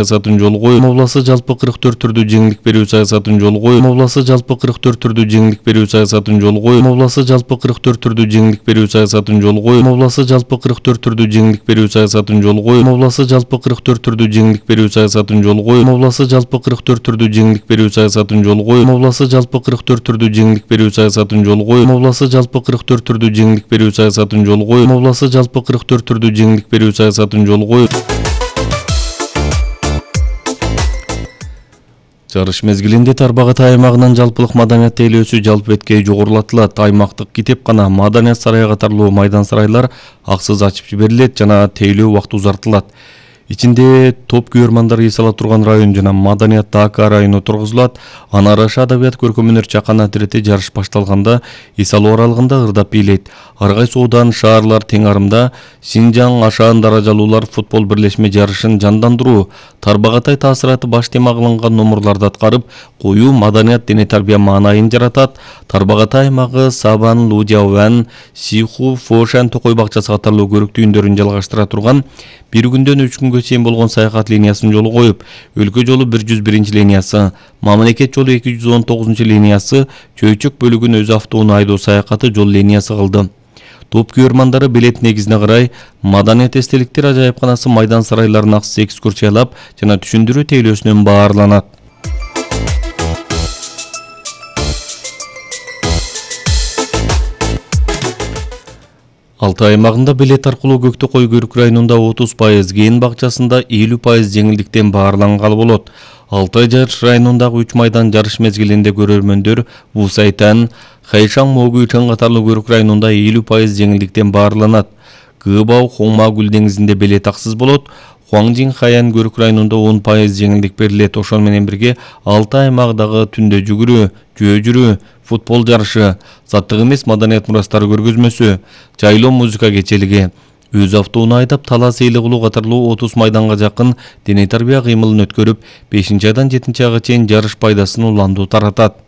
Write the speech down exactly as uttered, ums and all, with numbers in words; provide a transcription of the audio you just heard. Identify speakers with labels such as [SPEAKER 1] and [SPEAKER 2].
[SPEAKER 1] саясатын жолу коюп, обласы жалпы кырк төрт түрдүү жеңилдик берүү саясатын жолу коюп, обласы жалпы кырк төрт түрдүү жеңилдик берүү саясатын жолу коюп, обласы жалпы кырк төрт түрдүү жеңилдик берүү саясатын жолу коюп, обласы жалпы кырк төрт түрдүү жеңилдик берүү саясатын жолу коюп, обласы жалпы кырк төрт түрдүү жеңилдик берүү саясатын жолу коюп, обласы жалпы кырк төрт түрдүү жеңилдик берүү саясатын жолу коюп, обласы жалпы кырк төрт түрдүү жеңилдик берүү саясатын жолу коюп, обласы жалпы кырк төрт түрдүү жеңилдик берүү саясатын жолу коюп, обласы жалпы кырк төрт түрдүү жеңилдик берүү саясатын жолу коюп. Жарыш мезгилинде Тарбағатай аймагынын жалпылык маданият тейлөөсү жалпы беткей жогорулатылат. Аймактык китепкана, маданият сарайы катарлуу майдан сарайлар аксыз ачып жиберилет жана тейлөө убакыты узартылат. Ичинде топ күйөрмандар эс ала турган район жана маданият АК району тургузулат. Аны Араша адабият көркөм өнөр чаканат ирети жарыш башталганда эс алуу аралыгында ырдап бийлейт. Ар кайсы оодан, шаарлар тең арымда Синжаң ашаан даражалуулар футбол бирлешме жарышын жандандыруу, Тарбағатай таасираты баш тема кылынган номурларды аткарып, коюу маданият дене тарбия маанайын жаратат. Тарбағатай аймагы Сабан, Лудяуан, Сиху, Фошан, Токой бакчасы катарлуу көрүктүү үндөрүн жалгаштыра турган бир күндөн үч күнгө чейин болгон саякат линиясын жолу коюп, өлкө жолу бир жүз биринчи линиясы, мамлекет жолу эки жүз он тогузунчу линиясы, Чөйчөк бөлүгүн өз автоунаа айдоо саякаты жол линиясы кылды. Топ күйөрмандары билет негизине карай маданият эстеликтер ажайыпканасы майдан сарайларын аксыз экскурсиялап жана түшүндүрүү тейлөөсүнөн баарланат. Алтай аймагында билет аркылуу Көктөкөй Көрүк районунда отуз пайыз, Кээн бакчасында элүү пайыз жеңилдиктен баарлангалы болот. Алтай жарыш районундагы үч майдан жарыш мезгилинде көрөрмөндөр Бусайтан, Хайшаң, Могуйтан катарлуу Көрүк районунда элүү пайыз жеңилдиктен баарланат. Кыбау, Хоңма Гүл деңизинде билет аксыз болот. Хуаңжин, Хаян Көрүк районунда он пайыз жеңилдик берилет. Ошол менен бирге Алтай аймагындагы түндө жүгүрүү, жөө жүрүү, футбол жарышы, заттык эмес маданият мурастары көргөзмөсү, жайлоо музыка кечелиги, өз автоунаа айдап талас эйле кылуу катарлуу отуз майданга жакын дене тарбия кыймылын өткөрүп, бешинчи айдан жетинчи айга чейин жарыш пайдасын уландуу таратат.